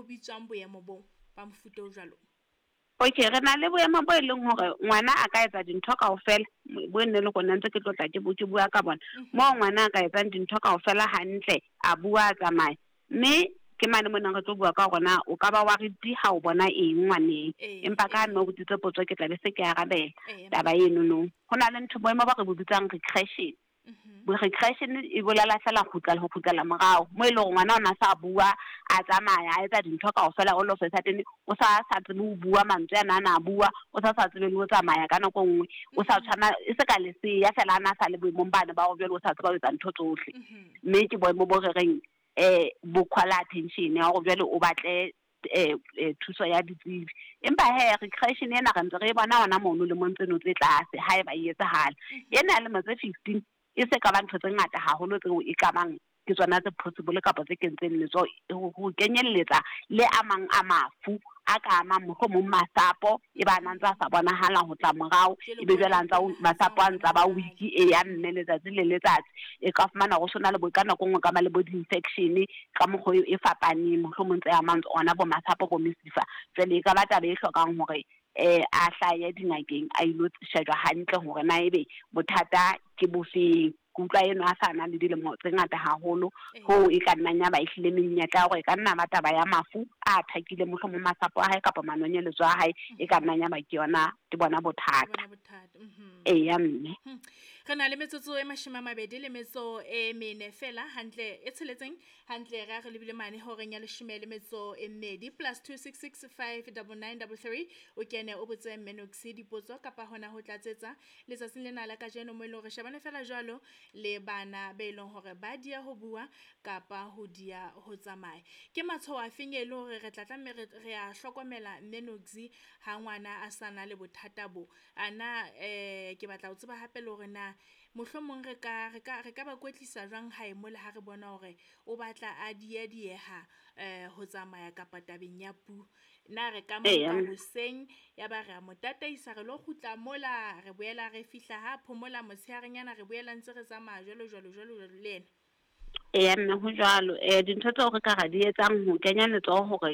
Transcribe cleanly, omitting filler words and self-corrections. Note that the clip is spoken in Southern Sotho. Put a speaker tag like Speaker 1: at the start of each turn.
Speaker 1: bitswang boemo bo ba mofuta o jwalo?
Speaker 2: Okay, re na le boemo bo e leng hore ngwana a ka etsa dintho kaofela, bo nne le rona ntse ke tlotla ke ke bua ka bona. Moo ngwana a ka etsang dintho kaofela hantle, a bua, a tsamaya. Mme ke mane mo neng re tlo bua ka hore na o ka ba worried ha o bona eng ngwaneng. Empa ka ha mme o botsitse potso ke tla be se ke arabela taba eno no. Ho na le ntho boemo bo re bo bitsang regression. Regression e bolela fela ho kgutlela morao, mo e leng hore ngwana o na sa bua, a tsamaya, a etsa dintho kaofela, all of a sudden o sa tsebe ho bua mantswe ana a na bua, o sa tsebe le ho tsamaya ka nako e nngwe, o sa tshwana e se ka leseya fela, a na sa le boemong bane ba hore jwale o sa tseba ho etsa ntho tsohle. Mme ke boemo bo re reng bo call attention ya hore jwale o batle thuso ya ditsebi. Empa he regression ena re ntse re e bona hona mono lemong tseno tse tlase haeba e etsahala. Ena ya lemo tse 15 e se ka ba ntho tse ngata haholo tseo e ka bang ke tsona tse possible kapa tse kentseng letsoho ho kenyelletsa le a mang a mafu a ka amang mohlomong masapo, e ba nang tsa sa bonahala ho tla morao, e be jwale a ntsa masapo a ntsa ba weak e ya mme letsatsi le letsatsi. E ka fumana ho sona le bo ka nako e nngwe ka ba le bo di-infection ka mokgwa e fapaneng, mohlomong tse amang ona bo masapo bo mesifa. Jwale e ka ba taba e hlokang hore a hlahe dingakeng, a ilo shejwa hantle hore na ebe bothata ke bofeng. Ke utlwa eno a sa na le dilemo tse ngata haholo, hoo e ka nnang ya ba ehlile menyetla ya hore e ka nna ba taba ya mafu a attack-ile mohlomong masapo a hae kapa manonyeletso a hae, e ka nnang ya ba ke yona, ke bona bothata.
Speaker 1: Bona bothata.
Speaker 2: Eya mme.
Speaker 1: Re na le metsotso e 24 fela hantle e tsheletseng hantle re a re lebile mane horeng ya 12 +266 5 99 33 o kene o botse Mme Noksi dipotso kapa hona ho tlatsetsa letsatsing lena la kajeno mo e leng hore shebane fela jwalo le bana be leng hore ba dia ho bua kapa ho dia ho tsamaya. Ke matshwao a feng e le hore re tla tlameha re a hlokomela Mme Noksi ha ngwana a sa na le bothata bo? Ana ke batla ho tseba hape le hore na mohlomong re ka ba kwetlisa jwang hae mole ha re bona hore o batla a diedieha ho tsamaya kapa tabeng ya puo. Na re ka mo nka hoseng ya ba re a mo tataisa re lo kgutla mola, re boela re fihla ha phomola motshearenyana, re boela ntse re tsamaya jwalo jwalo jwalo jwalo le yena.
Speaker 2: Eya mme ho jwalo. Dintho tseo re ka ra di etsang ho kenya letsoho hore